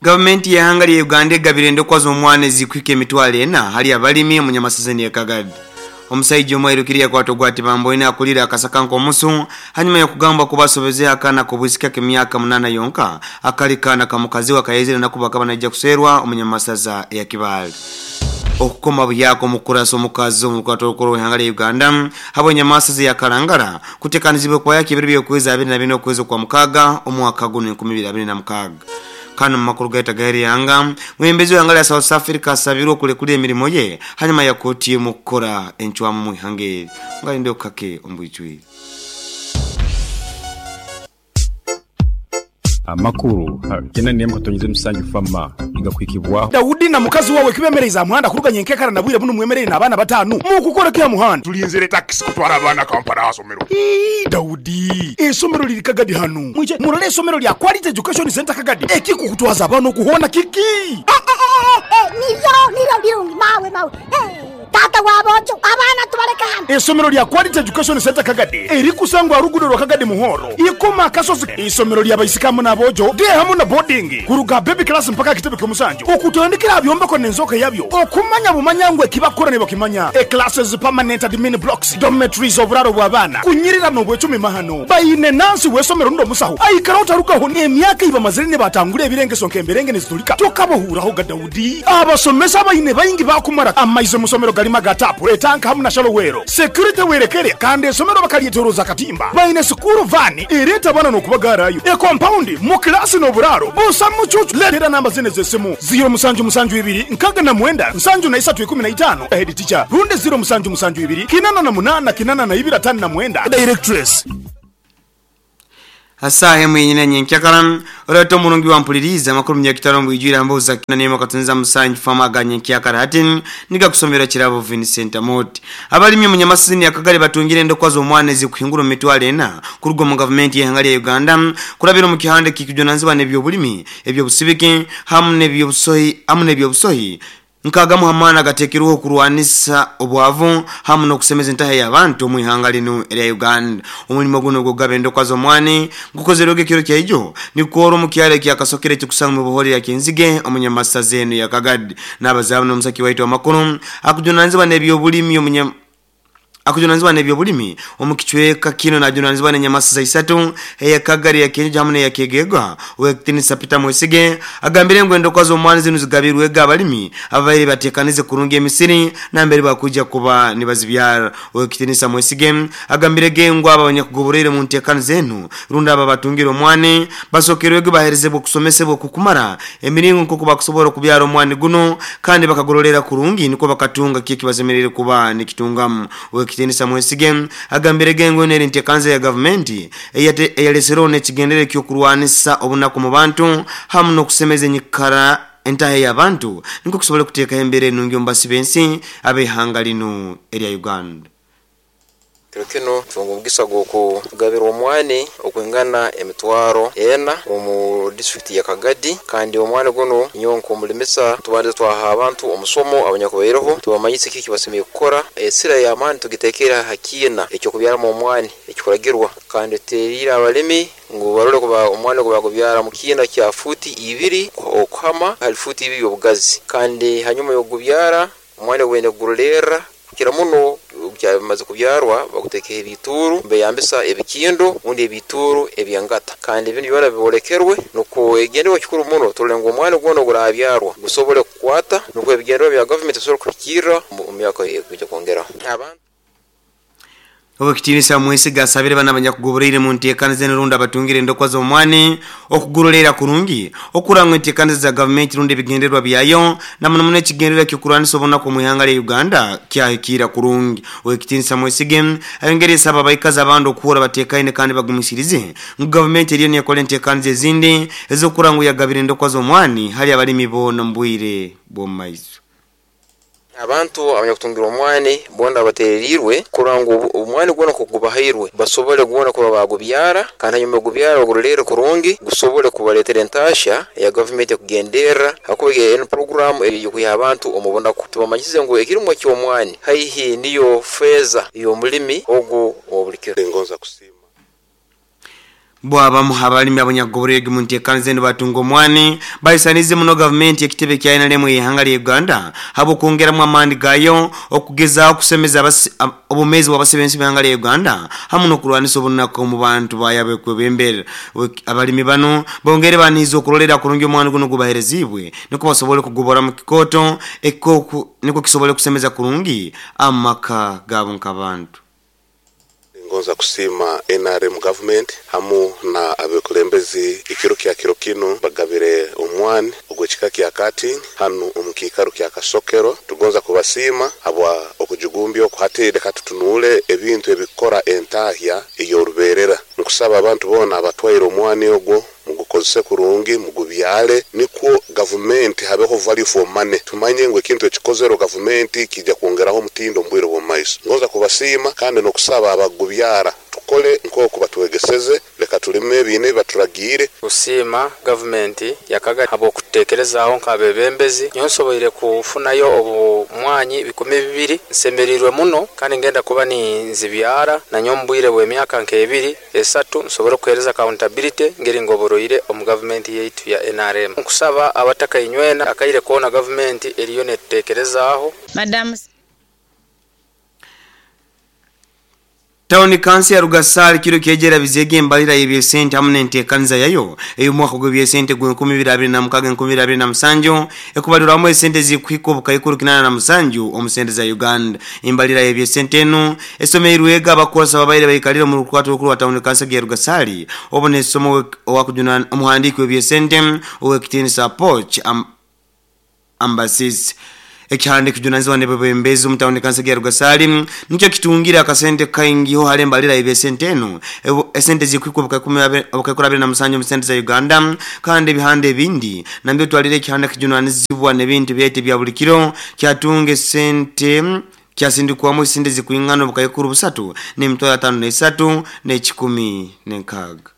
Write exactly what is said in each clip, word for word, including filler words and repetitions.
Gavumenti y'ehanga lya Uganda egabire endokwa z'omwana ezikwika emitwalo ena hali abalimi omunyamasazeni ekagadi. Omusaija omwirukiri yakwata ogwati bamboine akulira akasaka nk'omusu hanyuma y'okugamba kubasobeze akana kobwisika k'emyaka munana yonka akali kana kamukazi wakayezire nakuba akaba naija kuserwa omunyamasaza ya Kibaale. Okukoma buyako omukurasa omukazi omukwato olukoro w'ehanga lya Uganda habw'enyamasaza ya Kalangala kutekanizibwe kwa yaki ebiro by'okwezi abiri na bina okwezi kwa mukaaga omwaka guno enkumi ibiri abiri na mukaaga. Kano makuru gaita gairi yanga mwembezi w'ehanga lya South Africa asabirwe okulekula emirimo ye hanyuma ya kooti emukukora encwamu mu ihanga eri. Ngalinde okukake ombwijwire. Amakuru kena nemu katonyize musanju fama igakwikibwa Daudi na mukazi wawe kibemereza muhanda kuruganya enkekara nabwire buno mwemerere n'abaana batanu mukukora kya muhanda tulinzire taxi kutwara abana Kampala asomero. Ii, Daudi esomero liri Kagadi hano mwije murole esomero lya Quality Education Center Kagadi ekikukutwaza abana okuhona kiki eh, eh, eh, eh, niro niro birungi mawe mawe eh. Tata wabojo abana tubaleka hano. Esomero lya Quality Education Center Kagadi erikusangwa rugudo rwa Kagadi Muhoro ikoma kasozi. Isomero lya baisikamu nabojo de hamu na boarding kuruga baby class mpaka kitebe kyomusanju okutandikira byombeko nenzoka yabyo okumanya bumanyangwe kibakora ne bakimanya e classes permanent admin blocks dormitories oburaro bw'abana kunyirira n'obwecumi mahano bayine nansi wesomero ndo musaho aikara utarukaho emyaka iba mazire batangure ebirengeso nkemberenge nezitulika tokabohuraho ga Daudi abasomesa bayine bayingi bakumara amaize musomero galima gatapu etanka hamu na shalowero security werekere kandi esomero bakalietoroza katimba bayine sukuru vani ereta bana nokubagarayo e compound mu class no buraro busa mucucu letera namba zine zesimu zero musanju musanju ibiri nkaga na mwenda nsanju na isatu ikumi na itano head teacher runde zero musanju musanju ibiri kinana na munana kinana na ibira tano na mwenda directress. Asahe mwenyina nyenkyakala oleta omulungi wampuliriza amakulu myakitano mbwijwira mbuza kina nemo katunza musanju fama ga nyenkyakala hati niga kusomera kirabo Vincent Amoti. Abalimi munyamasizini akagale batungire endokwa z'omwana ezikuhingura emitwalo ena kuruga mu gavumenti y'ehanga lya Uganda kurabira mu kihande kikujunanizibwa n'ebyobulimi ebyobusibiki hamu n'ebyobusohi hamu n'ebyobusohi nkagamu hamana gatekeruho kurwanisa obwavu hamu n'okusemeza entaha y'abantu mu ihanga lino erya Uganda. Omulimo guno gugaba endokwa z'omwani gukozerwege kiro kyaijo nikuoro mu kyalo kya Kasokere kikusanga mu buhori ya Kenzige omunyamasaza eno ya Kagadi n'abazabu n'omusaki waitu amakuru akujunanizibwa n'ebyobulimi omunya akujunanizibwa n'ebyobulimi omukichweka kino najunanizibwa n'enyamasaza isatu eya Kagari ya Kenja hamu n'eya Kegegwa Owekitinisa Peter Mwesige agambire ngu endokwa z'omwani zino zigabirwega abalimi ababaire batekanize kurungi emisiri nambere bakuja kuba nibazibyara. Owekitinisa Mwesige agambire gengu aba abanyakugoborere mu ntekano zenu runda aba batungira omwani basokerwege baherezebwa okusomesebwa kukumara emiringo nk'oku bakusobola okubyara omwani guno kandi bakagororera kurungi niko bakatunga kiki bazemerere kuba nikitungamu. Owekitinisa Mwesige agambire gengo neri ntekanze ya gavumenti eyalesero n'ekigendere ky'okurwanisa obunaku mu bantu hamu n'okusemeza enyikara entahe y'abantu niko kusobola kuteeka embere ennungi omu basi b'ensi ab'ehanga lino erya Uganda. Kiro kino tunga omugisa gw'okugabira omwani okwingana emitwaro ena omu district ya Kagadi kandi omwani guno nyowe nk'omulimisa tubanze twaha abantu omusomo abanyakubaireho tubamanyise kiki basemeye kukora esira y'amaani tugitekera hakiina ekyokubyaramu omwani ekikuragirwa kandi tuteriire abalimi ngu barole kuba omwani gubagubyara mu kiina kya futi ibiri okuhama hali futi ibiri obugazi kandi hanyuma y'okugubyara omwani gwenda kugurorerra kukira muno byamaze kubyarwa bagutekeho ebituru beyambisa ebikindo undi ebituru ebyangata kandi ibintu byona bibolekerwe nuko egenderwa kikuru muno turole ngu omwana gwona gurabyarwa gusobole kukwata nuko ebigenderwa bya government bisobole kuhikirra mu myaka ekujja kwongeraho abantu. Owekitinisa Mwesiga asabire bana abanyakugoborere mu ntekano z'enrunda batungire endokwa z'omwani okugororera kurungi okurangwa entekano za gavumenti rundi ebigendererwa byayo na muno muno ekigendererwa ky'okurwanisa obunaku mu ihanga lya Uganda kyahikira kurungi. Owekitinisa Mwesige ayongere esaba abaikazi abandi okuhura batekaine kandi bagumisirize ngu gavumenti eriyo nekola entekano ezindi ez'okurangwa yagabira endokwa z'omwani hali abalimi boona mu bwire bw'omu maiso. Abantu abanyakutungira omwani bona batererirwe kurora ngu omwani gwona kugubahairwe basobole gwona kuba bagubyara kandi hanyuma gubyara bagurorere kurungi gusobole kubaletera entasha ya gavumenti kugenderera hakuba eno program ey'okuha abantu omubonaku tubamanyisize ngu ekirimwa ky'omwani haihi niyo feza y'omulimi ogu obulikiro. Ngonza kusiima. Bwabamu abalimi abanyagoborege mu nteekaniza nibatunga omwani baisanize muno gavumenti ekitebe kya N R M y'ihanga lya Uganda habo kwongeramu amaani gayo okugezaho okusemeza obumezi bw'abasebenzi b'ihanga lya Uganda hamu n'okurwanisa obunaku mu bantu bayabe kwebembera. Abalimi bano bongere baniza okurolera kurungi omwani guno gubaherezibwe niko basobole kugobora mu kikoto eko niko kisobole kusemeza kurungi amaka gabo nk'abantu. Ngonza kusima N R M government hamu na abekulembezi ikiro kya kiro kino bagabire omwani ogwekika kya kati hanu omukikaro kya Kasokero. Tugonza kubasima habwa okujugumbya okuhatire katutunule ebintu ebikora entahya eyoruberera. Nkusaba abantu bona abatwaire omwani ogwo mugukozese kurungi mugubyale nikwo government habeho value for money. Tumanye ngu ekintu ekikozero government kijja kwongeraho omutindo mbwire bw'omaiso. Ngonza kubasima kandi nokusaba abagubyara tukole nk'oku batwegeseze, leka tulime ebine baturagiire. Kusima government yakaga abo kutekerezaho nk'abebembezi nyonsoboire kufunayo obumwanyi bikumi bibiri nsemerirwe muno kandi ngenda kuba ni nzibyara na nyombwire bw'emyaka nk'ebiri esatu nsobora kuhereza accountability ngeri ngoboroire omu government yaitu ya N R M. Nkusaba abataka inywena akaire kuona government eriyo netekerezaho. Madam Tawuni kansi ya Rugasari kiro kyejera bizege embalira y'ebyesente hamu n'enteekaniza yayo ey'omwaka gw'ebyesente gw'enkumi ibiri abiri na mukaaga enkumi ibiri abiri na musanju ekubalirwamu esente zikuhika obukaikuru kinaana na musanju omu sente za Uganda. Embalira y'ebyesente enu esomeirwe ega abakozesa babaire baikalire mu rukwato rukuru rwa tawuni kansi ya Rugasari obu n'esomo owakujuna omuhandiiki w'ebyesente ow'ekitiinisa Poch am, Ambassis. Ekihande kijunanizibwa nebebembezi mu tawuni kansi ya Rugasari nikyo kitungira akasente kaingiho hale mbalira ebesente eno esente zikuikwa obukaikuru abiri na musanju mu sente za Uganda kandi ebihande ebindi nambyo twalire ekihande kijunanizibwa n'ebintu byete bya buli kiro kyatunga esente kyasindikwamu esente zikuingana obukaikuru busatu n'emitwaro atano n'esatu n'ekikumi n'enkaaga.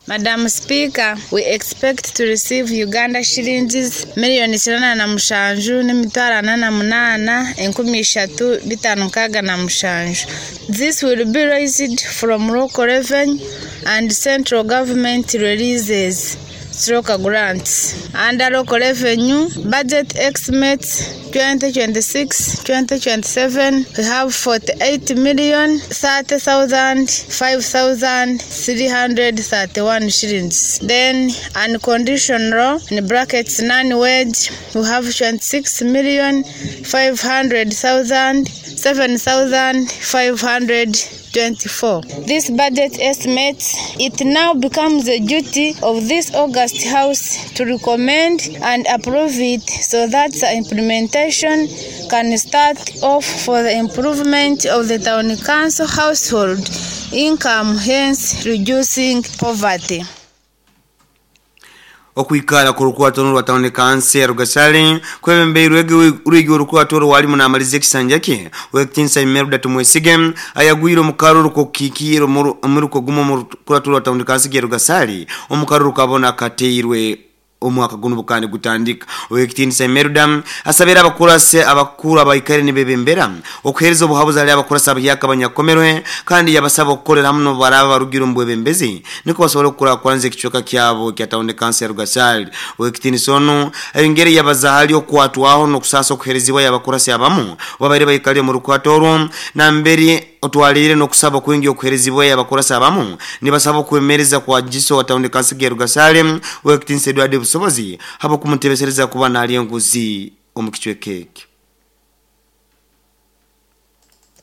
Madam Speaker, we expect to receive Uganda shillings million kinana na mushanju n'emitwaro ana na munana enkumi ishatu bitano nkaaga na mushanju. This will be raised from local revenue and central government releases stroke grants. Under local revenue budget estimates twenty twenty-six twenty twenty-seven, we have forty-eight million thirty thousand five thousand three hundred thirty-one shillings. Then unconditional in brackets non-wage, we have twenty-six million five hundred thousand seven thousand five hundred twenty-four. This budget estimates it now becomes the duty of this August House to recommend and approve it so that the implementation can start off for the improvement of the town council household income, hence reducing poverty. Okuikara ku rukwato rwa tawuni kansi ya Rugasari kwebembeirwe urwigi urukwato rwali munamalize ekisanja kye w'ekitiinisa Imelda Tumwesige ayagwire omukaruru kokikiro omuruko gumo mu rukwato rwa tawuni kansi ya Rugasari omukaruru kabona kateirwe omwaka guno bukandi gutandika. Owekitiinisa Imelda asabira abakurase abakuru abaikare nibebembera okuhereza obuhabuzi ali abakurasa abahyaka abanyakomerwe kandi yabasaba okukorera hamwe baraba barugira omu bwebembezi niko basobole okukurakuranza ekicweka kyabo kya tawuni kansi ya Rugasari. Owekitiinisa ono ayongere yabaza hali okwatwaho n'okusasa okuherezibwa yabakurase abamu babaire baikale mu rukwato orwo nambere otwalire n'okusaba kwingi okuherezibwa yabakurasa abamu nibasaba okwemereza kwa jiso wa tawuni kansi ya Rugasari owekitiinisa Edward Busobozi habo kumutebesereza kuba nali enguzi omukicweka ekyo.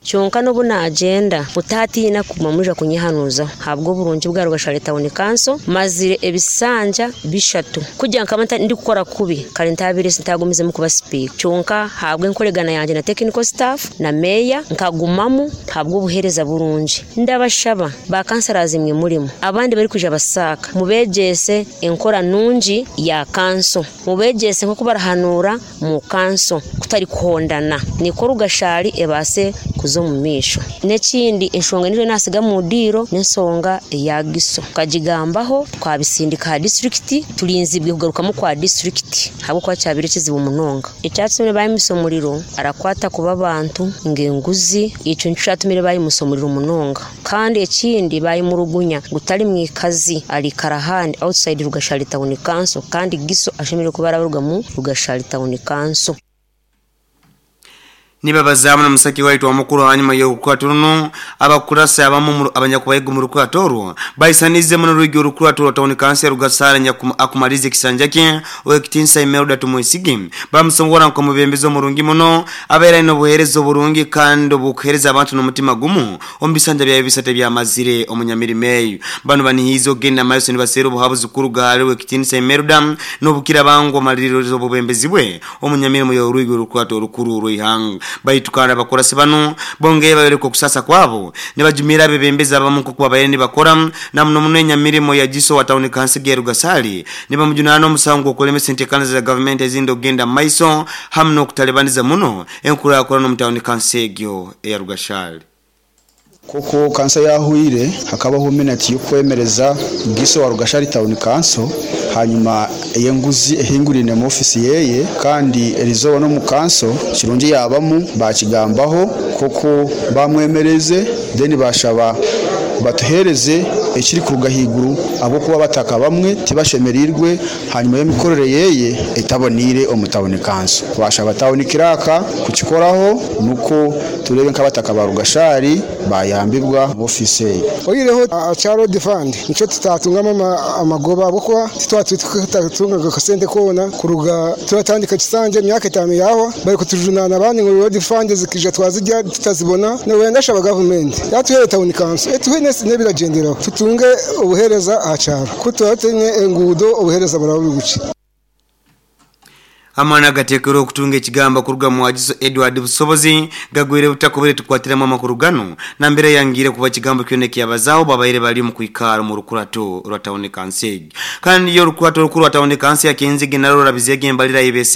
Kyonka n'obu agenda mutatiina kuma muja kunyihanuza habwo burungi bwa Rugashari Town Council mazire ebisanja bishatu kujya nkamata ndi kukora kubi kale ntabire sintagumize mu kuba speak kyonka habwe enkoregana yanje na technical staff na mayor nkagumamu habwo buhereza burungi. Ndabashaba ba councillors mwe murimo abandi bari kuja basaka mubegese enkora nungi ya council mubegese nko kubarahanura mu council kutari kuhondana niko Rugashari ebase kuza omu maisho. N'ekindi enshonga niyo nasiga mu diiro n'ensonga eya giso tukagigambaho twabisindika ha disitulikiti tulinzibwe kugarukamu kwa disitulikiti habwokuba kyabire kizibu munonga. Ekyatumire bayimusa omuriro arakwata kuba abantu ng'enguzi, ekyo nikyo kyatumire bayimusa omuriro munonga. Kandi ekindi bayimurugunya gutali mwikazi alikara ahandi outside Rugashari Town Council, kandi giso ashemereire kuba arabaruga mu Rugashari Town Council. Nibabazamu na musaki waitu wa mukuru hanyuma y'okukwata runo abakurasa abamu abanyakubayiga mu rukwato orwo baisanize muno rwigi orukwato rwa Town Council Rugasara akumalize kisanja kye owekitinsa Imelda Tumwesige bamusongora nko mubembezo murungi muno abeera ino buhereza oburungi kandi obukuhereza abantu n'omutima gumu ombisanja bya bisate bya mazire omunyamirimo eyo. Bano banihizo genda maso nibasera obuhabuzi kuruga owekitinsa Imelda n'obukira bango maliriro obubembezi bwe omunyamirimo y'orwigi orukwato orukuru rw'ihanga. Baitukana bakorasi bano bongeye bayereko kusasa kwabo nibajumira bebembeza abamu kuba bayeni bakora na muno munenya mirimo ya jiso wa Town Council ya Rugasali nibamujunana omusango okulemesa entekana za government ezindo genda maiso hamno okutalebaniza muno enkura yakora no mu Town Council ya Rugashali. Koko kansa yahuire hakabaho minute yo kwemereza giso wa Rugashari Town Council, hanyuma eyenguzi ehingurine mu office yeye kandi erizoba no mu council kirungi yabamu bakigambaho koko bamwemereze then bashaba batuhereze ekiri kuruga higuru abo kuba bataka bamwe tibashemerirwe hanyuma y'emikorere yeye etabonire omu Town Council. Bashaba town kiraka kukikoraho nuko turebe nkabataka ba Rugashari bayambibwa mu office ye. Oyireho acharo defund nico tutatungama amagoba bwo tutatutunga kasente kona kuruga turatandika kisanje myaka itanu yaho bari kutujunana abandi ngo road fund zikija twazijya tutazibona no wenda shaba government yatuhere Town Council etuhe nebiragendera tutunge obuhereza acharo kutuatenye engudo obuhereza burabuguci. Amana gatekero okutunga ekigamba kuruga mu Agiso Edward Busobozi gagwire butakobere tukwatiramo amakuru gano na mbere yangire kuba kigambo kyone kyabazaho babaire bali mu kwikara mu rukurato rwa Town Council. Kandi yo rukurato rukuru rwa Town Council yakenze general rabizege mbalira ibese.